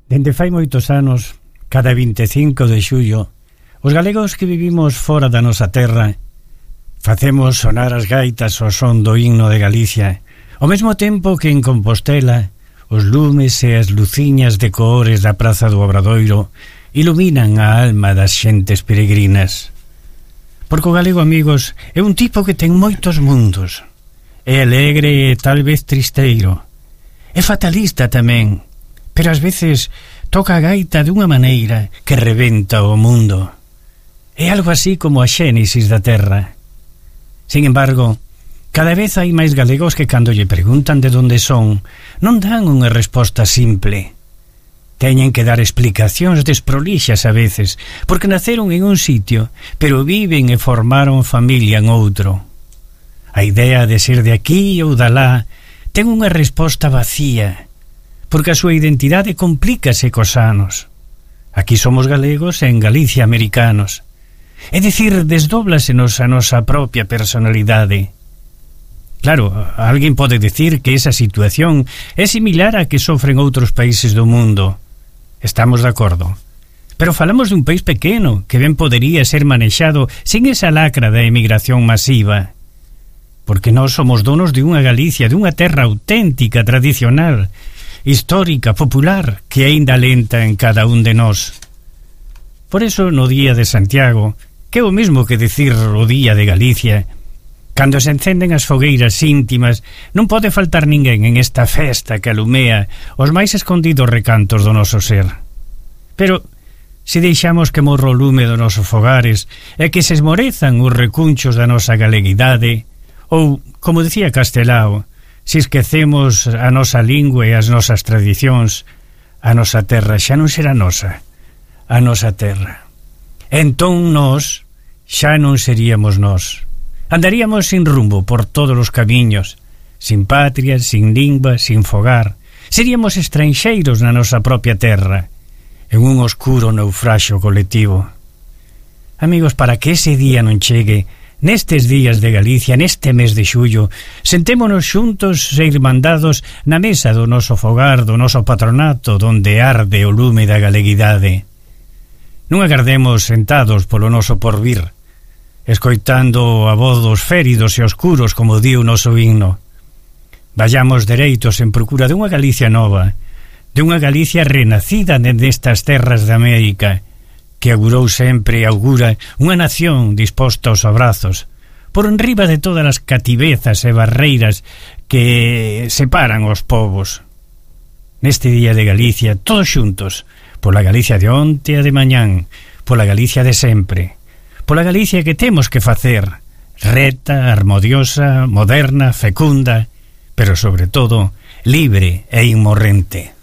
Dende fai moitos anos, cada 25 de xullo, os galegos que vivimos fora da nosa terra facemos sonar as gaitas ao son do himno de Galicia, ao mesmo tempo que en Compostela os lumes e as luciñas de cores da Praza do Obradoiro iluminan a alma das xentes peregrinas. Porque o galego, amigos, é un tipo que ten moitos mundos. É alegre e tal vez tristeiro. É fatalista tamén, pero ás veces toca a gaita dunha maneira que rebenta o mundo. É algo así como a xénesis da terra. Sin embargo, cada vez hai máis galegos que cando lle preguntan de onde son, non dan unha resposta simple. Teñen que dar explicacións desprolixas a veces, porque naceron en un sitio, pero viven e formaron familia en outro. A idea de ser de aquí ou dalá ten unha resposta vacía, porque a súa identidade complícase cos anos. Aquí somos galegos e en Galicia americanos. É dicir, desdóblasenos a nosa propia personalidade. Claro, alguén pode decir que esa situación é similar a que sofren outros países do mundo. Estamos de acordo. Pero falamos dun país pequeno que ben podería ser manexado sin esa lacra da emigración masiva. Porque nós somos donos de unha Galicia, de unha terra auténtica, tradicional, histórica, popular, que aínda lenta en cada un de nós. Por eso, no Día de Santiago, que é o mesmo que decir o Día de Galicia, cando se encenden as fogueiras íntimas, non pode faltar ninguén en esta festa que alumea os máis escondidos recantos do noso ser. Pero, se deixamos que morra o lume dos nosos fogares e que se esmorezan os recunchos da nosa galeguidade, ou, como decía Castelao, se esquecemos a nosa lingua e as nosas tradicións, a nosa terra xa non será nosa, a nosa terra. Entón nós xa non seríamos nós. Andaríamos sin rumbo por todos os camiños, sin patria, sin lingua, sin fogar. Seríamos estranxeiros na nosa propia terra, en un oscuro naufraxio colectivo. Amigos, para que ese día non chegue, nestes días de Galicia, neste mes de xullo, sentémonos xuntos e irmandados na mesa do noso fogar, do noso patronato, donde arde o lume da galeguidade. Non agardemos sentados polo noso porvir, escoitando a voz dos féridos e oscuros, como di o noso himno. Vayamos dereitos en procura dunha Galicia nova, de unha Galicia renacida nestas terras de América, que augurou sempre e augura unha nación disposta aos abrazos, por enriba de todas as cativezas e barreiras que separan os povos. Neste Día de Galicia, todos xuntos, pola Galicia de onte e de mañán, pola Galicia de sempre, pola Galicia que temos que facer, reta, harmoniosa, moderna, fecunda, pero sobre todo libre e inmorrente.